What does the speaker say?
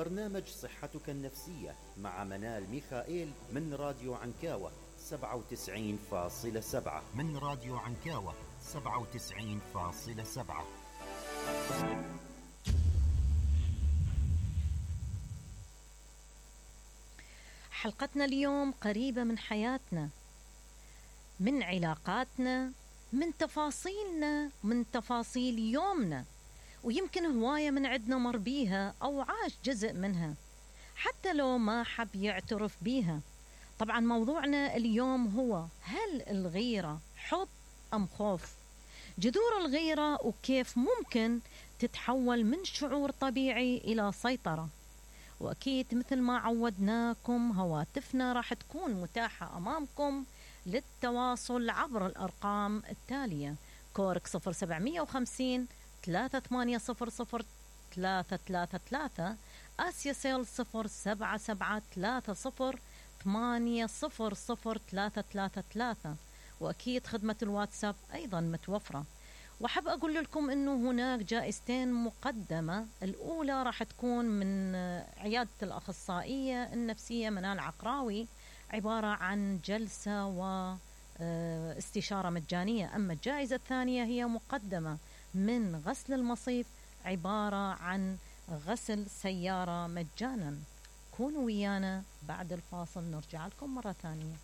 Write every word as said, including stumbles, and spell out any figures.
برنامج صحتك النفسية مع منال ميخائيل من راديو عنكاوة سبعة وتسعين فاصلة سبعة من راديو عنكاوة سبعة وتسعين فاصلة سبعة. حلقتنا اليوم قريبة من حياتنا، من علاقاتنا، من تفاصيلنا، من تفاصيل يومنا، ويمكن هواية من عدنا مر بيها أو عاش جزء منها حتى لو ما حب يعترف بيها. طبعا موضوعنا اليوم هو: هل الغيرة حب أم خوف؟ جذور الغيرة وكيف ممكن تتحول من شعور طبيعي إلى سيطرة. وأكيد مثل ما عودناكم هواتفنا راح تكون متاحة أمامكم للتواصل عبر الأرقام التالية: كورك صفر سبعمية وخمسين ثلاثة ثمانية صفر صفر ثلاثة ثلاثة ثلاثة، آسيا سيل صفر سبعة سبعة ثلاثة صفر ثمانية صفر صفر ثلاثة ثلاثة ثلاثة، وأكيد خدمة الواتساب أيضا متوفرة. وحب أقول لكم أنه هناك جائزتين مقدمة. الأولى راح تكون من عيادة الأخصائية النفسية منال عقراوي، عبارة عن جلسة واستشارة مجانية. أما الجائزة الثانية هي مقدمة من غسل المصيف، عبارة عن غسل سيارة مجانا. كونوا ويانا بعد الفاصل نرجع لكم مرة ثانية.